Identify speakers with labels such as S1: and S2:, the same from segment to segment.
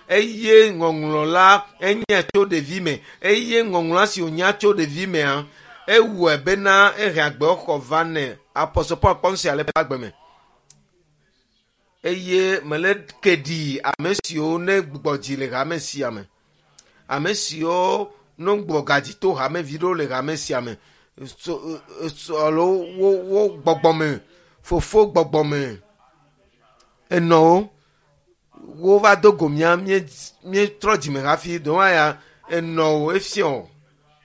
S1: Eye ŋɔŋlɔ la enye tso ɖevi me eye ŋɔŋlɔa si wònya tso ɖevi mea ewɔe bena ehe agbewo xɔ va nɛ. Apɔstɔ Paul kpɔ nu sia le eƒe agbe me. Eye mele ke ɖi ame siwo ne gbugbɔ dzi le hame sia me. Ame siwo ne gbugbɔ gadzi to hamevi ɖewo le hame sia me. So, so, alo wo wo gbɔgbɔme fofo gbɔgbɔme enɔwo wova do go mía míetrɔ dzime hafi ɖewo ya enɔwo efiɔ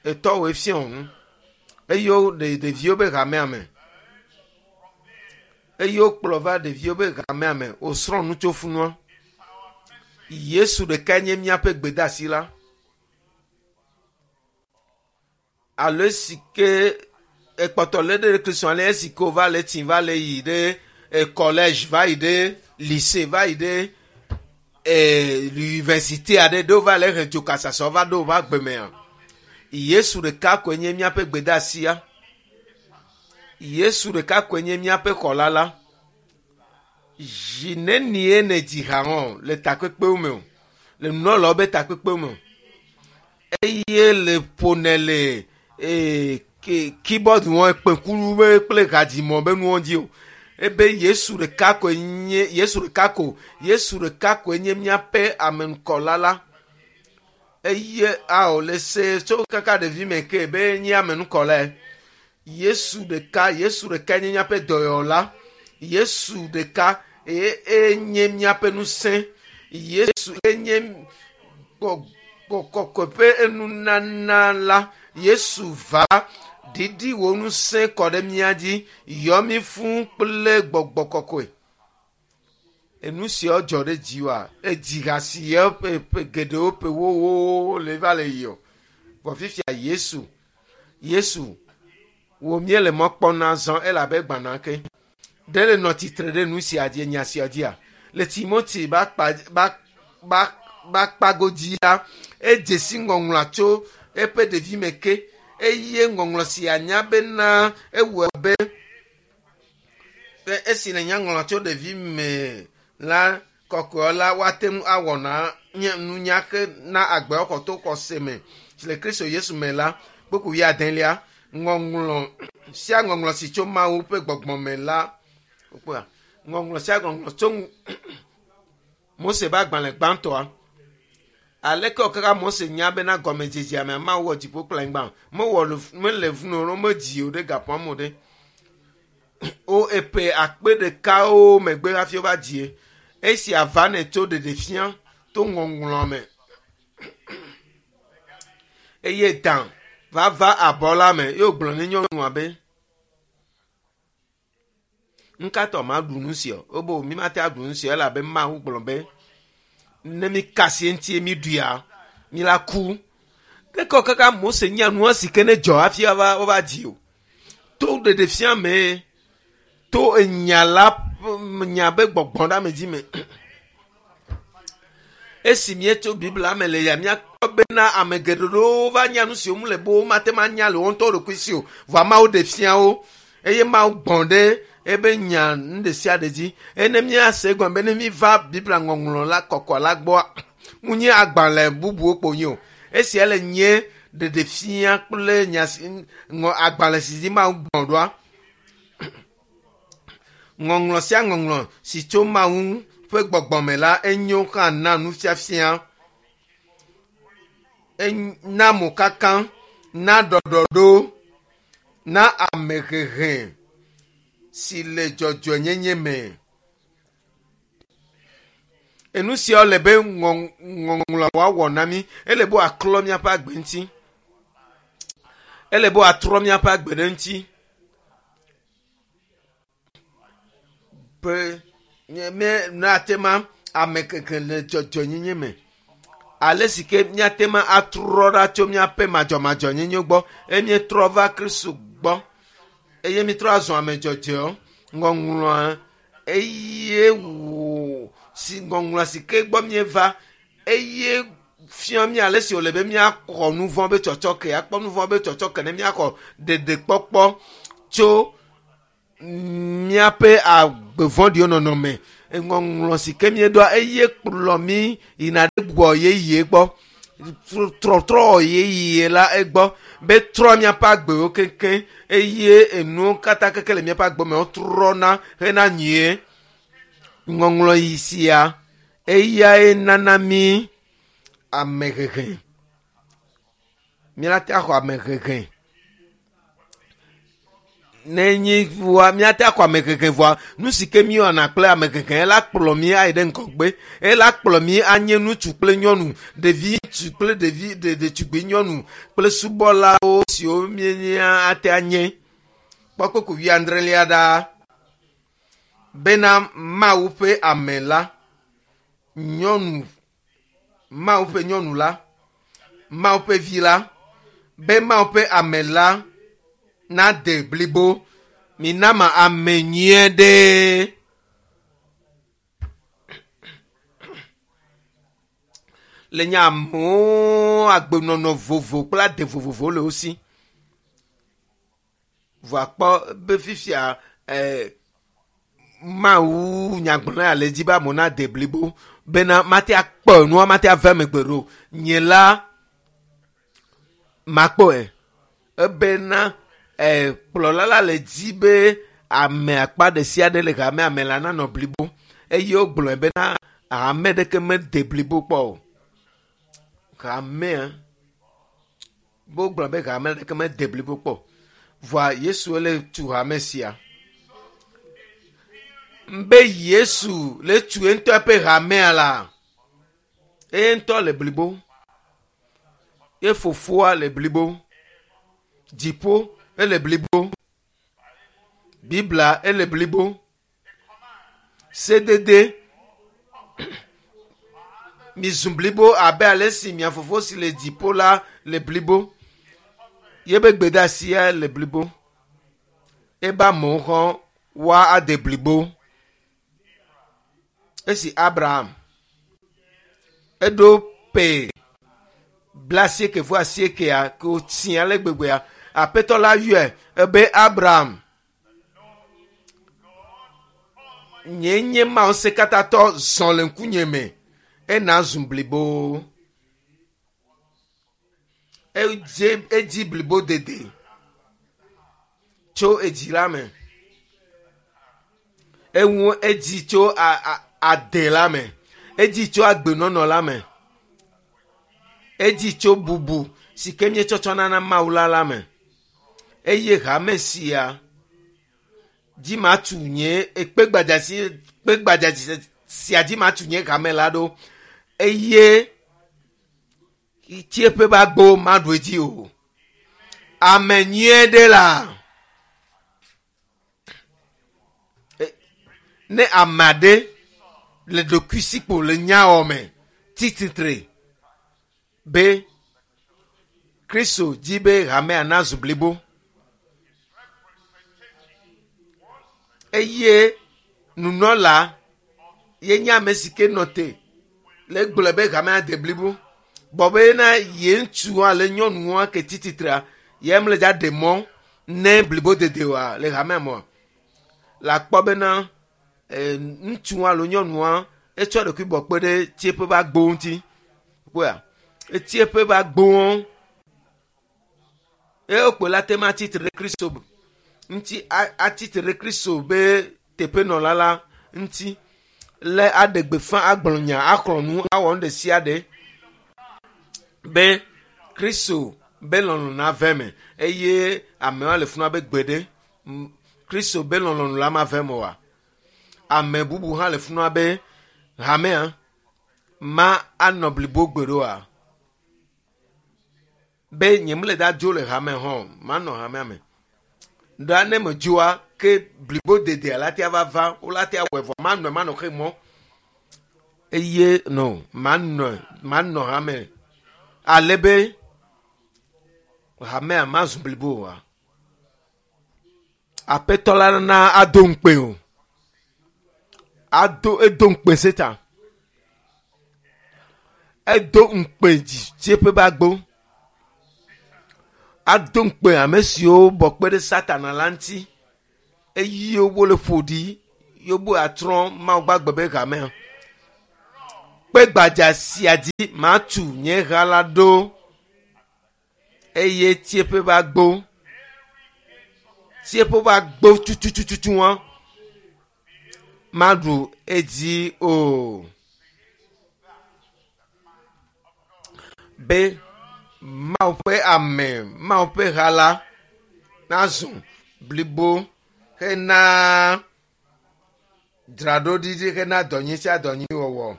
S1: etɔwo efiɔ nu eye wo ɖe ɖeviwo be hamea me eye wokplɔ va ɖeviwo be hamea me wosrɔ̃ nu tso funua. Yesu ɖekae nye míaƒe gbedeasi la. Alo esi ke ekpɔtɔ lé ɖe Kristo ale esi ke wova le tsi va le yi ɖe collège va yi ɖe lycée va yi ɖe université aɖe ɖe wova le he dzokasasɔ va ɖo woƒe agbe mea. Yesu ɖeka koe nye míaƒe gbedeasia. Yesu ɖeka koe nye míaƒe xɔla la. Zi nenie ne dzi ha hã le takpekpewo me o, le nunɔlawo be takpekpewo me o. Eye le ƒonɛ le keyboard wɔn kpẽkulu be kple hadzimɔ be nuwo dzi o. Ebe Yesu ɖeka koe nye Yesu ɖeka ko Yesu ɖeka koe nye míaƒe amenukɔla la. Eye ao le se tso kaka ɖevi me ke be nye amenukɔlae. Yesu ɖeka Yesu ɖeka nye míaƒe dɔyɔla. Yesu ɖeka eye enye míaƒe ŋusẽ. Yesu enye kɔkɔe ƒe enunana la. Yesu va ɖiɖi wò ŋusẽ kɔ ɖe mía dzi yɔ mí fũ kple gbɔgbɔ kɔkɔe. Enu siawo dzɔ ɖe dziwòa edzi ha si ye ƒe ƒe geɖewo ƒe wowo le va le yi o. Vɔ fifia Yesu Yesu wò míele mɔ kpɔm na zɔ elabe gbana ke. Ɖe le nɔ tsitre ɖe nu sia dzi nya sia dzia. Le Timoti ba kpa ba ba ba kpagodzi la edze si ŋɔŋlɔa tso eƒe ɖevime ke eye ŋɔŋlɔ sia nya bena ewɔe be esi le nya ŋlɔ tso ɖevime la kɔkɔe la woate ŋu awɔ na nye nunya ke na agbewo xɔ to xɔse me si le Kristo Yesu me la kpukpu wuiadelia ŋɔŋlɔ sia ŋɔŋlɔ si tso Mawu ƒe gbɔgbɔ me la wokpɔa ŋɔŋlɔ sia ŋɔŋlɔ tso Mose ƒe agbalẽ gbãtɔa aleke wòkaka Mose nya bena gɔmedzedzea mea Mawu wɔ dziƒo kple anyigba mewɔ mele vunu o medzi o ɖe gaƒoa me o ɖe wo eƒe akpe ɖekawo megbe hafi wova dzie esia va nɛ tso ɖeɖefia to ŋɔŋlɔ me eye dan va va abɔ la me ye wògblɔ ne nyɔnua be ŋkatɔ ma ɖu nu sia o wobe mi mate aɖu nu sia elabe Mawu gblɔ be ne mi kasi eŋuti mi ɖuia mi la ku ɖeke kaka Mose nya nua si ke ne dzɔ hafi wova wova dzi o to ɖeɖefia me to enya la nya be gbɔgbɔ ɖe ame dzi me esi míetso Biblia me le ya míakpɔ bena ame geɖewo va nya nu siwo mu le be womate ŋu anya le wo ŋutɔ ɖokui si o vɔa Mawu ɖe fia wo eye Mawu gbɔ̃ ɖe ebe nya nu ɖe sia ɖe dzi eye ne míase egɔme be ne míva Biblia ŋɔŋlɔ la kɔkɔ la gbɔa mu nye agbalẽ bubuwo kpo nye o esia le nye ɖeɖefia kple nya si ŋɔ agbalẽ si dzi Mawu gbɔ̃ ɖoa ŋɔŋlɔ sia ŋɔŋlɔ si tso Mawu ƒe gbɔgbɔ me la enyo hã na nufiafia na mokaka na ɖɔɖɔɖo na amehehe si le dzɔdzɔenyenye me. Enu siawo le be ŋɔŋlɔ woawɔ na mí ele be wòaklɔ míaƒe agbe ŋuti ele be wòatrɔ míaƒe agbe ɖe ŋuti be míate ma ame keke le dzɔdzɔenyenye me ale si ke míate ma atrɔ ɖa tso míaƒe madzɔmadzɔnyenye gbɔ eye míetrɔ va Kristo gbɔ eye míetrɔ azɔ ame dzɔdzɔewo ŋɔŋlɔa eye wò si ŋɔŋlɔ si ke gbɔ míeva eye fia mí ale si wòle be míaxɔ nu vɔ̃ be tsɔtsɔke akpɔ nu vɔ̃ be tsɔtsɔke ne míaxɔ ɖeɖekpɔkpɔ tso míaƒe agbe vɔ̃ɖiwo nɔnɔme Ŋɔŋlɔ si ke míeɖoa eye kplɔ mí yina ɖe gbɔ yeye gbɔ. Trɔtrɔ yeye la egbɔ be trɔ míaƒe agbewo keŋkeŋ eye enuwo katã keke le míaƒe agbe me wotrɔna hena nyuie. Ŋɔŋlɔ yi sia eyae nana mí amehehe. Míate axɔ amehehe. Ne nyi vɔa míate axɔ amehehe vɔa nu si ke míwɔna kple amehehe la kplɔ mí ayi ɖe ŋgɔgbe. Ela kplɔ mí anye ŋutsu kple nyɔnu, ɖevi ŋutsu kple ɖevi ɖetugbui nyɔnu kple subɔlawo siwo míenya ate anye. Kpɔ kpukpui wuiadrelia ɖa bena Mawu ƒe ame la, nyɔnu, Mawu ƒe nyɔnu la, Mawu ƒe vi la, be Mawu ƒe ame la nade blibo. Mina ma ame nyuie ɖe. Le nye amewo agbenɔnɔ vovo kple ade vovovowo le wo si. Vɔa kpɔ be fifia Mawu nyagblɔla ya le edzi be amewo nade blibo bena mate akpɔ nua mate ave ame gbe ɖo. Nye la makpɔe ebena kplɔla la le dzi be ame akpa ɖe sia ɖe le hamea me la nanɔ blibo eye wogblɔe bena hame ɖeke mede blibo kpɔ o. Hamea wogblɔ be hame ɖeke mede blibo kpɔ o. Vɔa Yesu le tu hame sia. Be Yesu le tu ye ŋutɔ ƒe hamea la, eye ŋutɔ le blibo. Ye fofoa le blibo. Dziƒo ele blibo. Biblia ele blibo. Sedede mizu blibo abe ale si mia fofo si le dziƒo la le blibo. Yebe gbedeasia le blibo. Ebe amewo hã woa ade blibo. Esi Abraham eɖo ƒe 88 ke wòtsi ale gbegbea, Aƒetɔ la yɔe ebe Abraham, nye nye Mawu ŋusẽkatãtɔ zɔ le ŋkunye me ena zu blibo. Edze edzi blibo dede tso edzi la me. Eŋu edzi tso ade la me. Edzi tso agbenɔnɔ la me. Edzi tso bubu si ke míetsɔtsɔna na Mawu la la me. Eye hame sia dzi matu nye ekpe gbadza si kpe gbadza sia dzi matu nye hame la ɖo eye tsieƒe ƒe agbo maɖu edzi o. Ame nyuie ɖe la. Ne ame aɖe le ɖokuisikpo le nyawɔ me tsi tsitre be Kristo dzi be hamea nazu blibo eye nunɔla ye nye ame si ke nɔ te le gblɔe be hamea de blibo bɔ be na ye ŋutsu ale nyɔnua ke tsi tsitrea ye mele dza ɖe mɔ ne blibo dede oa le hamea me oa. Le akpɔ bena ŋutsua alo nyɔnua etsɔ ɖokui bɔ kpe ɖe tsieƒe ƒe agbo ŋuti. Kpɔa etsieƒe ƒe agbowo eye wokpe la te ma tsitre ɖe Kristo ŋuti atsitre ɖe Kristo be teƒenɔla la ŋuti le aɖe gbeƒã agblɔ nya axlɔ̃ nu awɔ nu ɖe sia ɖe be Kristo be lɔlɔ̃ nave eme eye amewo le funu abe gbe ɖe Kristo be lɔlɔ̃nu la mave eme oa. Ame bubu hã le funu abe hamea ma anɔ blibo gbe ɖe oa. Be nye mele da dzo le hame hã o, manɔ hamea me. Ɖa ne medzoa ke blibo dedea la tea va va, wola tea wɔe vɔ manɔe manɔ xe mɔ. Eye no manɔe manɔ hame ale be hamea mazu blibo oa. Aƒetɔ la na ado ŋukpe o. Ado edo ŋukpe Satan. Edo ŋukpe dzitsieƒe ƒe agbo. Ado ŋukpe ame siwo bɔ kpe ɖe Satana la ŋuti eye wole ƒo ɖi. Yobu atrɔ Mawu gbagbe be hamea. Kpe gbadza sia dzi matu nye ha la ɖo eye tieƒe va gbo. Tieƒe va gbo tutututu wɔn maɖu edzi o. Be Mawu ƒe ame, Mawu ƒe ha la nazu blibo hena dzraɖoɖiɖi hena dɔnyi sia dɔnyi wɔwɔ.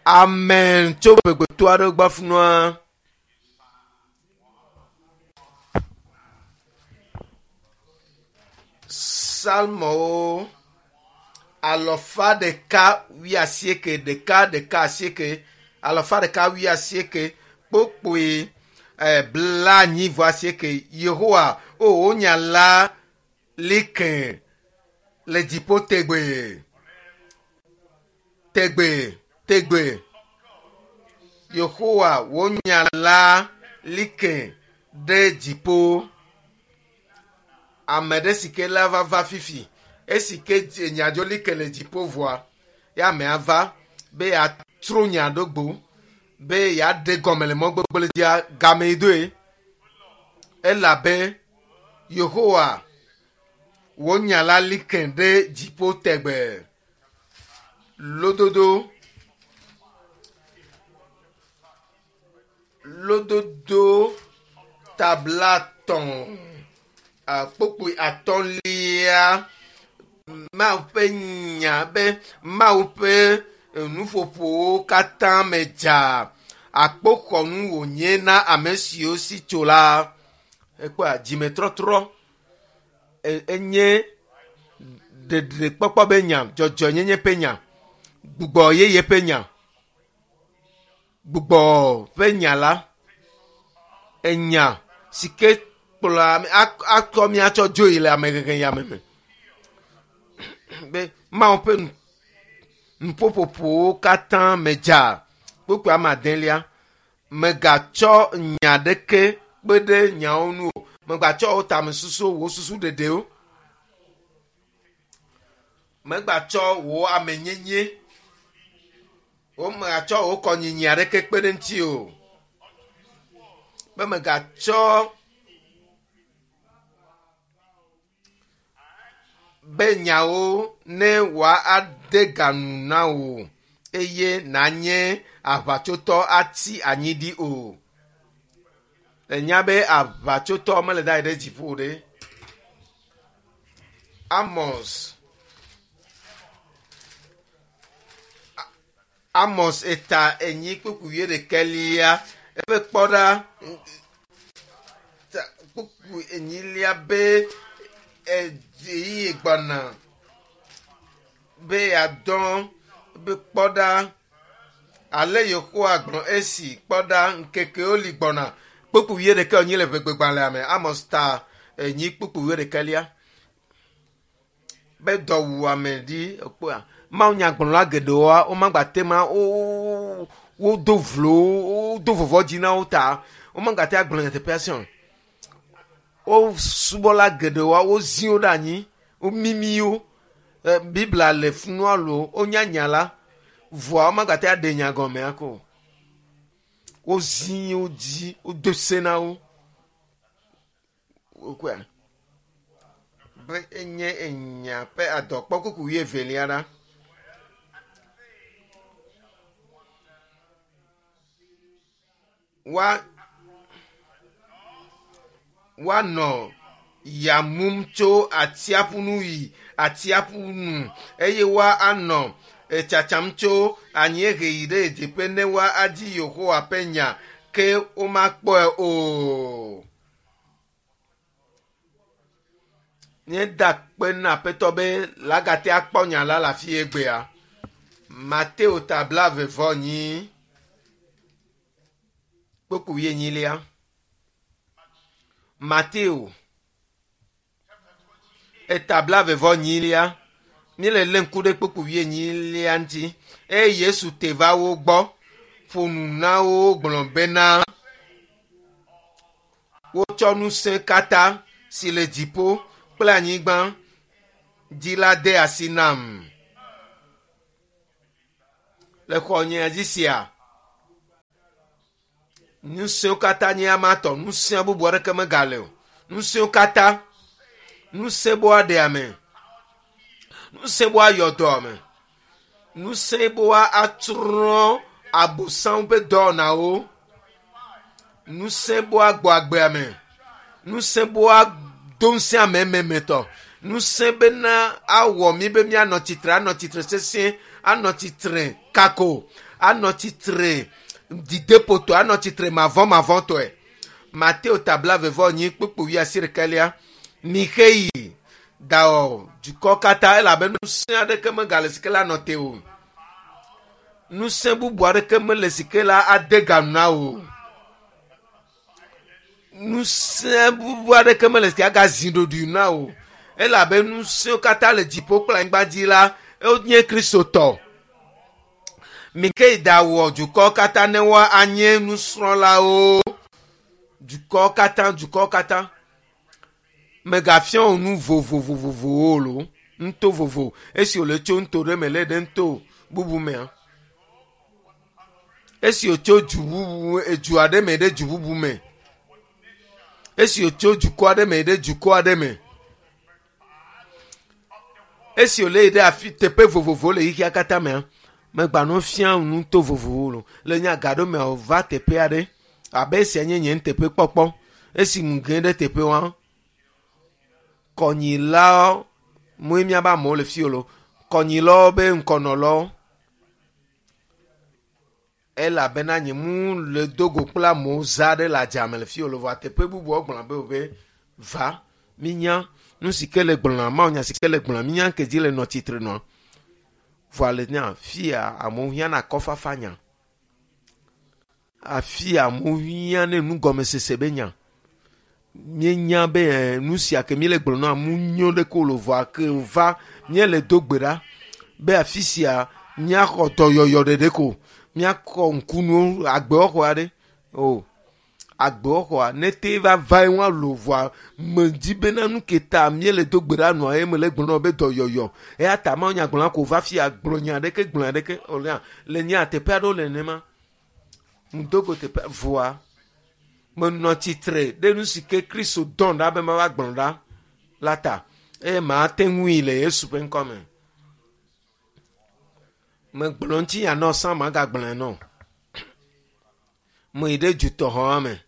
S1: Amen tso gbegbeto aɖewo gbɔ funua. Psalmowo alɔfa ɖeka wuiasieke ɖeka ɖeka asieke alɔfa ɖeka wuiasieke kpokpoe blanyi vɔ asieke Yehowa o wo nya la li ke le dziƒo tegbee tegbe tegbe Yehowa wo nya la li ke ɖe dziƒo. Ame ɖe si ke la va va fifi esi ke nyadzo li ke le dziƒo vɔa ya amea va be yeatrɔ nya ɖo gbo be yeaɖe gɔme le mɔ gbegblẽ dzia game yi doe elabe Yehowa wo nya la li ke ɖe dziƒo tegbee. Lododo lododo tablatɔ̃ kpokpoe atɔ̃lia Mawu ƒe nya be Mawu ƒe nuƒoƒowo katã me dza akpoxɔnu wònye na ame siwo si tso la. Ekpɔa dzimetrɔtrɔ enye ɖeɖekpɔkpɔ be nya, dzɔdzɔenyenye ƒe nya, gbugbɔ yeye ƒe nya, gbugbɔ ƒe nya la, enya si ke kplɔa ame akɔ míatsɔ dzoe le amehehe ya me me. Be Mawu ƒe nuƒoƒoƒowo katã me dza. Kpukpui ame adelia, megatsɔ nya ɖeke kpe ɖe nyawo ŋu o. Megatsɔ wò tamesusu, wò susu ɖeɖewo. Megatsɔ wò amenyenye, wo megatsɔ wò kɔnyinyi aɖeke kpe ɖe ŋuti o. Be megatsɔ be nyawo ne wòade ga nu na wò eye nanye aʋatsotɔ atsi anyi ɖi o. Enya be aʋatsotɔ mele da yi ɖe dziƒo ɖe. Amos Amos eta enyi kpukpui wuiɖekɛlia eƒe kpɔɖa kpukpui enyilia be ɣeyiɣi gbɔna be yeadɔ be kpɔɖa ale Yehowa gblɔ esi kpɔɖa ŋkekewo li gbɔna kpukpui wuiɖekɛ wònyi le ʋegbegbalẽa me Amos ta enyi kpukpui wuiɖekɛlia be dɔwuame ɖi ekpɔa Mawu nyagblɔla geɖewoa womagba te ma wo wodo vlo wodo vɔvɔ dzi na wo ta womagate agblɔ nyateƒea si o. Wo subɔla geɖewoa wozi wo ɖe anyi womimi wo. Biblia le funua lo wonya nya la vɔa womagate aɖe nya gɔmea ko o. Wozi wo dzi wodo se na wo. Wokɔea be enye enya ƒe adɔkpɔkuku wuievelia ɖa. Woa woanɔ ya mum tso atsiaƒu nu yi atsiaƒu nu eye woanɔ tsatsam tso anyiehe yi ɖe ɣedzeƒe ne woadi Yehowa ƒe nya ke womakpɔe o. Míeda akpe na Aƒetɔ be lagate akpɔ nya la le afi egbea. Mateo ta blaeve vɔ enyi kpukpui wuienyilia. Mateo eta blaeve vɔ enyilia. Míele lé ŋku ɖe kpukpui wuienyilia ŋuti. Eye Yesu te va wo gbɔ ƒo nu na wo gblɔ bena wotsɔ ŋusẽ katã si le dziƒo kple anyigba dzi la de asi nam. Le xɔnyea dzi sia, ŋusẽwo katã nye ama tɔ, ŋusẽ bubu aɖeke megale o. Ŋusẽwo katã, ŋusẽ be woaɖe ame, ŋusẽ be woayɔ dɔ ame, ŋusẽ be woatsrɔ̃ abosaŋ ƒe dɔwɔnawo, ŋusẽ be woagbɔ agbe ame, ŋusẽ be woado ŋusẽ ame ememetɔ, ŋusẽ bena awɔ mí be míanɔ tsitre, anɔ tsitre sesĩe, anɔ tsitre kako, anɔ tsitre dzideƒotɔe, anɔ tsitre mavɔmavɔtɔe. Mateo ta blaeve-vɔ-enyi kpukpu wuiasiɖekɛlia. Mixe yi dawɔ dukɔ katã elabe ŋusẽ aɖeke megale si ke la nɔ te o. Ŋusẽ bubu aɖeke mele si ke la ade ga nu na wò. Ŋusẽ bubu aɖeke mele si ke agazi ɖoɖoe na wò elabe ŋusẽwo katã le dziƒo kple anyigba dzi la wonye Kristo tɔ. Mike yi dawɔ dukɔ katã ne woanye nusrɔ̃lawo. Dukɔ katã, dukɔ katã. Megafia wò nu vovovovowo lo, nuto vovo. Esi wòle tso nuto ɖe me lé ɖe nuto bubu mea. Esi wòtso du bubu, edu aɖe me ɖe du bubu me. Esi wòtso dukɔ aɖe me ɖe dukɔ aɖe me. Esi wòle yi ɖe afi teƒe vovovowo le xexea katã mea, megba no fia nuto vovovowo lo. Le nye agaɖo mea wòva teƒe aɖe abe esia nye nye nuteƒekpɔkpɔ. Esi ŋu ge ɖe teƒe wa, kɔnyilawo moe míabe amewo le fi o lo. Kɔnyilawo be ŋkɔnɔlawo elabena nye mu le do go kple amewo za ɖe le adzame le fi o lo. Vɔa teƒe bubuwo gblɔ be wo be va mínya nu si ke le gblɔna Mawu nya si ke le gblɔna mínya ke dzi le nɔ tsitre nɔa. Vɔa le nya fia amewo hiã na akɔfafa nya. Afi amewo hiã ne nugɔmesese be nya. Míenya be nu sia ke míele gblɔm na amewo nyo ɖe ko lo vɔa ke va míele do gbe ɖa be afi sia míaxɔ dɔyɔyɔ ɖeɖe ko míakɔ ŋkunuwo agbewɔxɔ aɖe o agbewɔxɔa ne te va va ye ŋua lo vɔa medzi bena nu ke ta míele do gbe ɖa nɔa ye mele gblɔ na wo be dɔyɔyɔ eya ta Mawu nya gblɔna ko va fia gblɔ nya ɖeke gblɔ nya ɖeke o nya le nya teƒe aɖewo le nenema ŋdogo teƒe vɔa menɔ tsitre ɖe nu si ke Kristo dɔm ɖa be mava gblɔ ɖa la ta eye mate ŋui le Yesu ƒe ŋkɔ me. Megblɔ ŋutinya nɔ sã magagblɔe nɔ. Meyi ɖe dutɔxɔa me.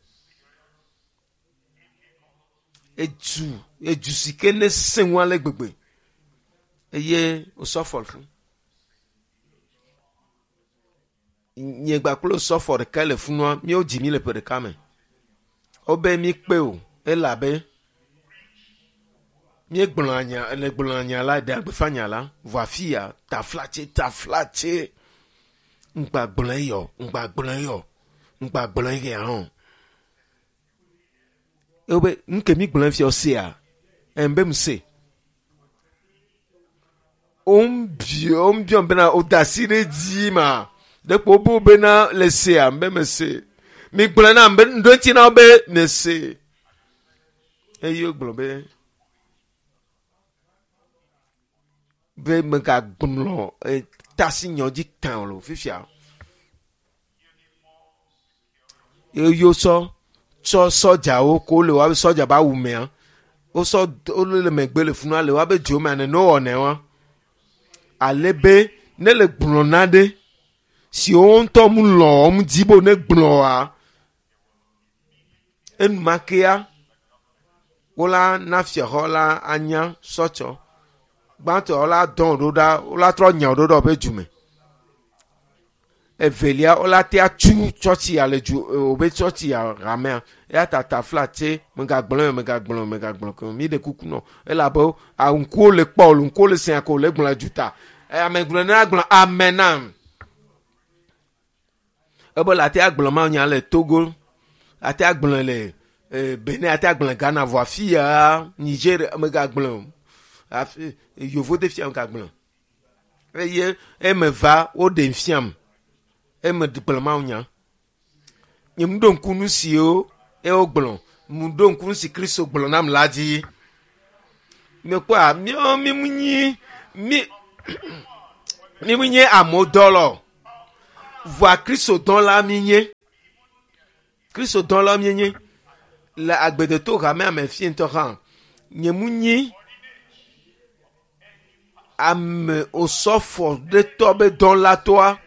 S1: Edu edu si ke ne sẽ ŋu ale gbegbe eye wòsɔfɔ le fi. Nye gba kple osɔfɔ ɖeka le funua míewo dzi mí le ƒe ɖeka me. Wobe míkpe o elabe míegblɔa nya le gblɔa nya la ɖea gbeƒã nya la vɔ afi ya taflatse taflatse ŋgba gblɔe yɔ ŋgba gblɔe yɔ ŋgba gblɔe ya hã. Wobe nu ke mi gblɔe fia sea ɛn be mu se. Wombiɔ wombiɔ bena woda asi ɖe dzi ma ɖekpo wobe bena le sea be me se. Mi gblɔe nam be ŋɖo ŋuti na wo be me se. Eye wogblɔ be be megagblɔ tasi nyɔ dzi tã o lo fifia. Eye wosɔ tsɔ sɔdzawo ko le woabe sɔdza be awu mea wosɔ wole le megbe le funua le woabe dzo mea nene wowɔnɛ wa. Ale be ne le gblɔ na ɖe si wo ŋutɔ mu lɔ̃ wɔm dzi be ne gblɔa enumakea wola na fiaxɔ la anya sɔtsɔ. Gbãtɔ wola dɔn ɖo ɖa wola trɔ nya ɖo ɖe woƒe dume. Evelia wola tea tu tsɔtsia le du wobe tsɔtsia hamea eya ta taflatse megagblɔe megagblɔ megagblɔ ke mi ɖe kuku nɔ elabe ŋkuwo le kpɔ o ŋkuwo le sea ko le gblɔ duta. Ame gblɔ ne agblɔ amen nam. Ebe le ate agblɔ Mawu nya le Togo, ate agblɔe le Benin, ate agblɔe Ghana vɔ afi ya Nigeria megagblɔe o. Afi yevo de fia megagblɔe o. Eye eme va woɖem fiam. Eme gblɔ Mawu nya. Nye mu ɖo ŋku nu siwo ye wogblɔ. Mu ɖo ŋku nu si Kristo gblɔ nam la dzi. Mekpɔa míawo mi mu nyi mi mi mu nye amewo dɔla o. Vɔa Kristo dɔla mi nye. Kristo dɔla mi nye. Le agbedeto hamea me fi ŋutɔ hã nye mu nyi ame osɔfo ɖe tɔ be dɔlatɔa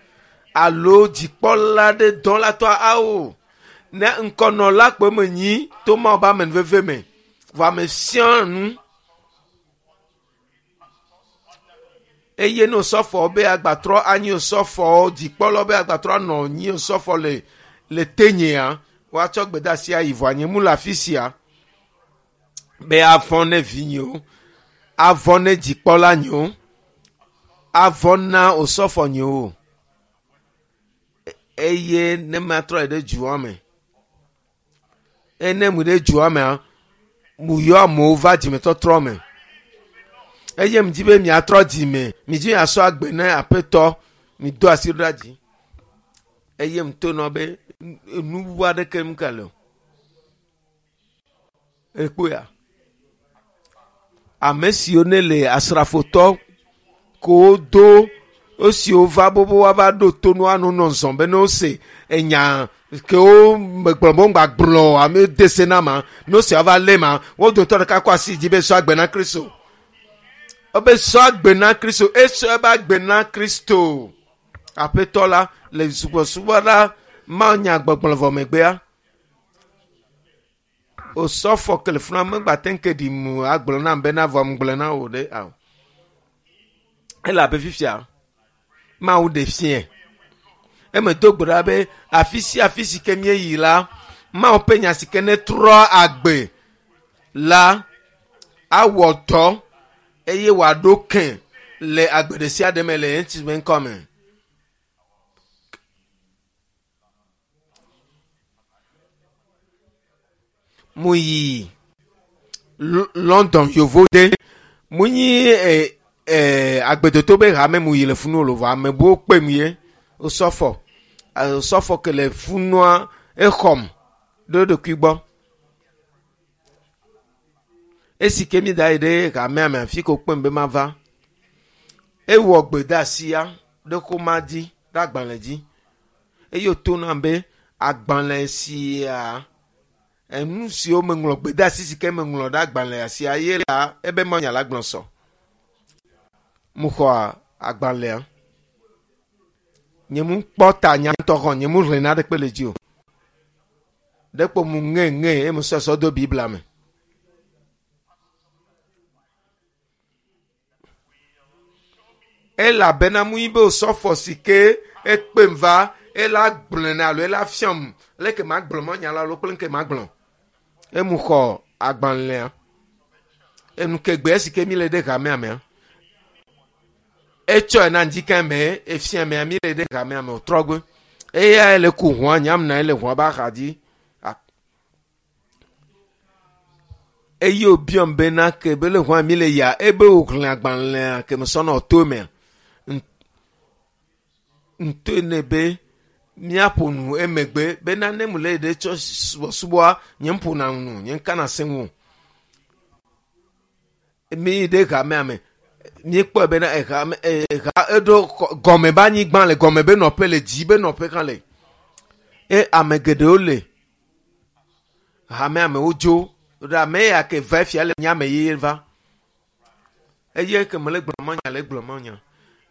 S1: alo dzikpɔla ɖe dɔlatɔa awo. Ne ŋkɔnɔla kpe me nyi to Mawu be amenuveve me. Vɔ ame sia nu eye ne osɔfo be agbatrɔ anyi osɔfo dzikpɔlawo be agbatrɔ anɔ nyi osɔfo le le tenyea woatsɔ gbedeasi ayi vɔa nye mu le afi sia be avɔ ne vinyewo avɔ ne dzikpɔla nyewo avɔ na osɔfo nyewo eye ne matrɔ yi ɖe dua me eye ne mu ɖe dua mea mu yɔ amewo va dzimetɔtrɔ me eye mu di be miatrɔ dzime mi dzi miasɔ agbe ne aƒetɔ mi do asi ɖo ɖa dzi eye mu to nɔ be nu bubu aɖeke mu ka le o ekpoya ame siwo ne le asrafotɔ ko do esiwo va bobo woava ɖo to nu anɔ nɔ zɔn be ne wose enya kewo megblɔ be wogba gblɔ o ame de se na ma ne wose woava lé ma wo dometɔ ɖeka kɔ asi dzi be sɔ agbe na Kristo ebe sɔ agbe na Kristo esɔ ebe agbe na Kristo aƒetɔ la le subɔsubɔ la mawunya gbɔgblɔ vɔ megbea osɔfo ke le funa megba te ŋu ke ɖi mu agblɔ nam bena vɔ ŋgblɔ na wò ɖe awo elabe fifia Mawu ɖe fiɛ eme do gbe ɖa be afi sia afi si ke míeyi la Mawu ƒe nya si ke ne trɔ agbe la awɔ dɔ eye wòaɖo ke le agbe ɖe sia ɖe me le Yesu ƒe ŋkɔ me. Mu yi London yovode mu nyi e, e, agbedoto be hame mu yi le funu o vɔ ame buwo kpe mu ye osɔfɔ osɔfɔ ke le funua exɔm ɖe eɖokui gbɔ. Esi ke mi da yi ɖe hamea me afi ke wokpem be mava ewɔ gbedeasia ɖe xoma dzi ɖe agbalẽ dzi eye wòto nam be agbalẽ sia enu siwo meŋlɔ gbedeasi si ke meŋlɔ ɖe agbalẽ sia ye la ebe manya la gblɔ sɔ. Mu xɔ agbalẽa. Nye mu kpɔ ta nya ŋutɔ xɔ nye mu xlẽ naɖekpe le dzi o. Ɖekpo mu ŋe ŋe eye mu sɔ sɔ do Biblia me. Elabena mu yi be osɔfo si ke ekpem va ela gblɔe na alo ela fiam leke magblɔ manya la alo kple ŋke magblɔ. Emu xɔ agbalẽa. Enu ke gbe si ke mi le ɖe hamea mea. Etsɔe na ŋdika me efia mea mi le ɖe hamea me wòtrɔ gbe. Eya le ku ʋua nyamna ele ʋua be axa dzi. Eye wòbiɔm bena ke be le ʋua mi le ya ebe wòxlẽ agbalẽa ke mesɔ nɔ to mea. Ŋtoe nɛ be míaƒo nu emegbe bena ne mu le ɖe tsɔ subɔsubɔa nye ƒona nu nye ŋkana se ŋu o. Mi yi ɖe hamea me míekpɔe bena ehame eha eɖo gɔme be anyigba le gɔme be nɔƒe le dzi be nɔƒe hã le. Eye ame geɖewo le hamea me wodzo ɖe ame ya ke va fia le nye ame yeye va. Eye ke mele gblɔ manya le gblɔ manya.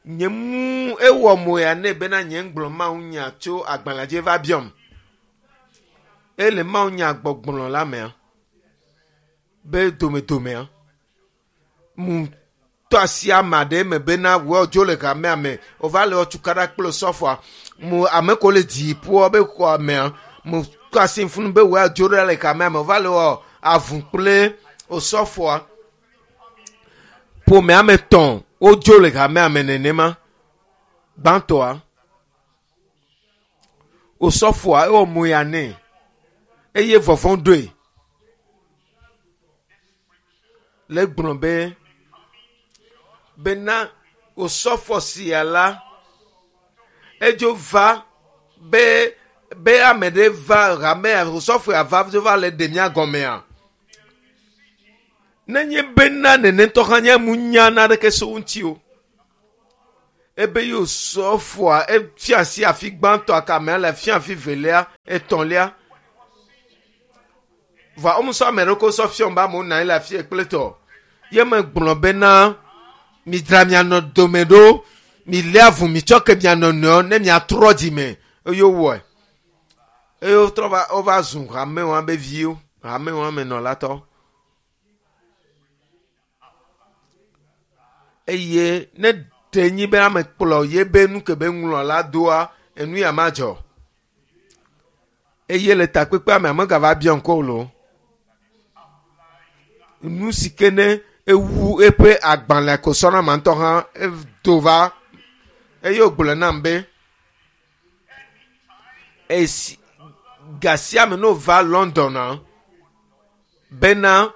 S1: Nye mu ewɔ mo ya nɛ bena nye ŋgblɔ Mawu nya tso agbalẽa dzi va biɔm. Ele Mawu nya gbɔgblɔ la mea be domedomea mu tɔ asi ame aɖe me bena wɔ dzo le hamea me wova le wɔtukaɖa kple osɔfoa mu ame ko le dziƒoa be xɔa mea mu tɔ asi funu be wɔ dzo ɖe le hamea me wova le wɔ avu kple osɔfoa ƒome ame etɔ̃ wodzo le hamea me nenema gbãtɔa osɔfoa ewɔ mo ya nɛ eye vɔvɔ̃ ɖoe le gblɔ be bena osɔfo sia la edzo va be be ame ɖe va hamea osɔfo ya va dzo va le ɖe mía gɔmea. Nenye bena nenetɔ hã nye mu nya naneke so ŋuti o. Ebe ye wòsɔfoa efia asi afi gbãtɔa kamea le fia afi velia, etɔ̃lia. Vɔa womusɔ ame ɖewo ko sɔ fiɔm be amewo nɔ anyi le afi kple tɔ. Ye megblɔ bena midzra mia nɔ dome ɖo, milé avu, mitsɔ ke mia nɔnɔewo ne miatrɔ dzime. Eye wowɔe. Eye wotrɔ va wova zu hamewoa be viwo, hamewoa me nɔlatɔ. Eye ne ɖe nyi be ame kplɔ ye be nu ke be ŋlɔ la doa, enu ya madzɔ. Eye le takpekpea me ame gava biɔ ŋkɔ o loo. Nu si ke ne ewu eƒe agbalẽ ko sɔna ma ŋutɔ hã edo va eye wògblɔ nam be esi gasia me ne wòva London bena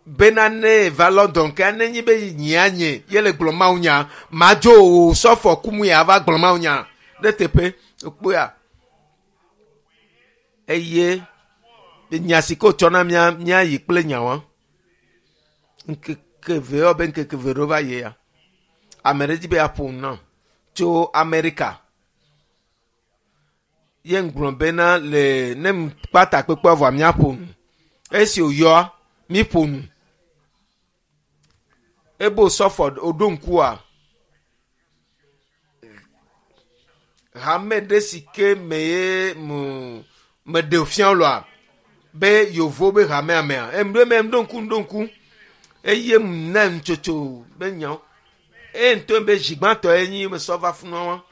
S1: bena ne va London ke nenye be nyea nye ye le gblɔ Mawu nya madzo o sɔfɔ kumu ya va gblɔ Mawu nya ɖe teƒe ekpɔa eye nya si ke wotsɔ na mía míayi kple nyawa ŋkeke eve yɔ be ŋkeke eve ɖewo va yi ya ame ɖe dzi be yeaƒo nu nam tso Amerika ye ŋgblɔ bena le ne kpa takpekpea vɔa míaƒo nu esi wòyɔa míƒo nu ebe wòsɔfɔ wòɖo ŋkua hame ɖe si ke me ye mu meɖe fia lɔa be yevo be hamea mea emɖo eme ɖo ŋku ɖo ŋku eye na nutsotso be nyawo eye ŋutɔ be zigbãtɔ ye nyi mesɔ va funua wa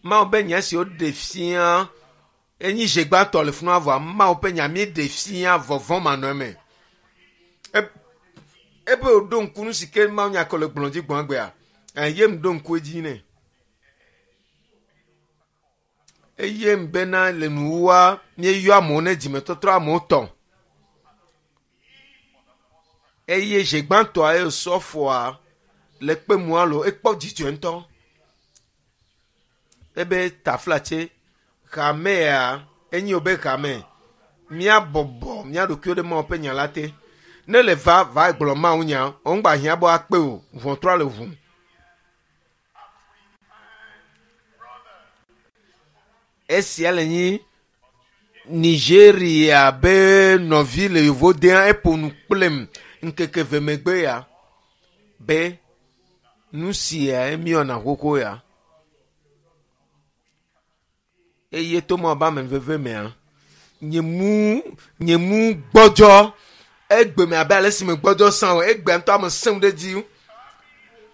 S1: Mawu be nya si woɖe fia enyi zigbãtɔ le funua vɔa Mawu ƒe nya mi ɖe fia vɔvɔ manɔ eme ebe wòɖo ŋku nu si ke Mawu nya ke le gblɔ dzi gbɔn gbea eye m ɖo ŋku edzi nɛ eye m bena le nuwua míeyɔ amewo ne dzimetɔtrɔ amewo tɔ eye zigbãtɔa ye sɔfoa le kpe mu alo ekpɔ dzidzɔ ŋutɔ ebe taflatse hamea enyi wo be hame míabɔbɔ mía ɖokuiwo ɖe Mawu ƒe nya la te ne le va va gblɔ Mawu nya woŋgba hiã be woakpe o ʋɔtrɔ le ʋu. Esia le nyi Nigeria be nɔvi le yevodea eƒo nu kplem ŋkeke eve megbe ya be nu sia míwɔna xoxo ya eye to Mawu be amenuveve mea nye mu nye mu gbɔdzɔ egbe me abe ale si me gbɔdzɔ sã o egbea ŋutɔ ame sẽŋu ɖe dzi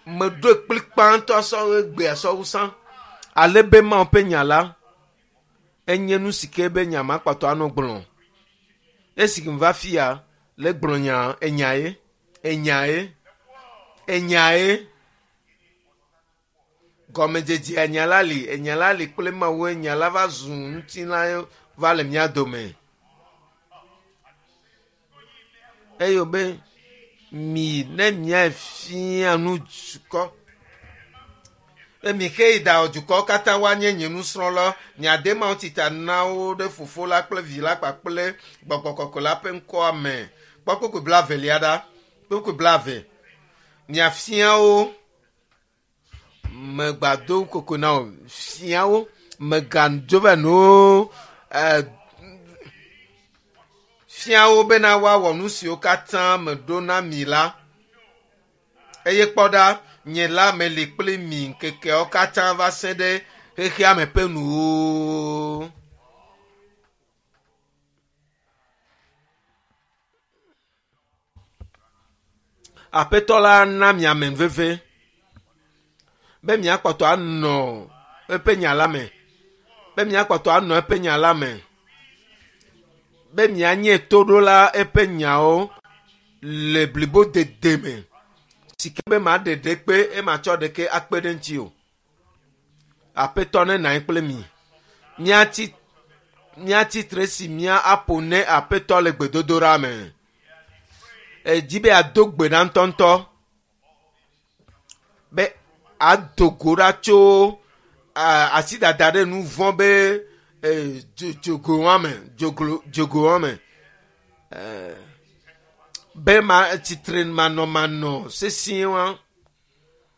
S1: meɖoe kplikpa ŋutɔ sɔ egbea sɔ wu sã ale be Mawu ƒe nya la enye nu si ke be nya ma kpɔtɔ anɔ gblɔ esi ke va fia le gblɔ nya enya ye enya ye enya ye gɔmedzedze enya la li enya la li kple Mawu enya la va zu ŋutilã va le mía dome eye be mi ne mia fia nu dukɔ emi ke yi da dukɔwo katã woanye nye nusrɔ̃la miade Mawu tita na wo ɖe fofo la kple vi la kpakple gbɔgbɔ kɔkɔe la ƒe ŋkɔa me kpɔ kpukpui blaevelia ɖa kpukpui blaeve miafia wo megbado koko na wo fia wo megadzo va no fia wo bena woawɔ nu siwo katã meɖo na mi la eye kpɔ ɖa nye la meli kpli mi ŋkekeawo katã va se ɖe xexea me ƒe nuwo. Aƒetɔ la na mi amenuveve be miakpɔtɔ anɔ eƒe nya la me be miakpɔtɔ anɔ eƒe nya la me be mianye toɖola eƒe nyawo le blibodede me si ke be maɖe ɖekpe ematsɔ ɖeke akpe ɖe ŋuti o. Aƒetɔ ne nɔ anyi kple mi. Míatsi míatsi tre si mía aƒo ne aƒetɔ le gbedodoɖa me. Edzi be yeado gbe ɖa ŋutɔŋutɔ be ado go ɖa tso asidada ɖe nu vɔ̃ be dzogoa me dzoglo dzogoa me. Be ma tsitre manɔmanɔ sesĩe wa.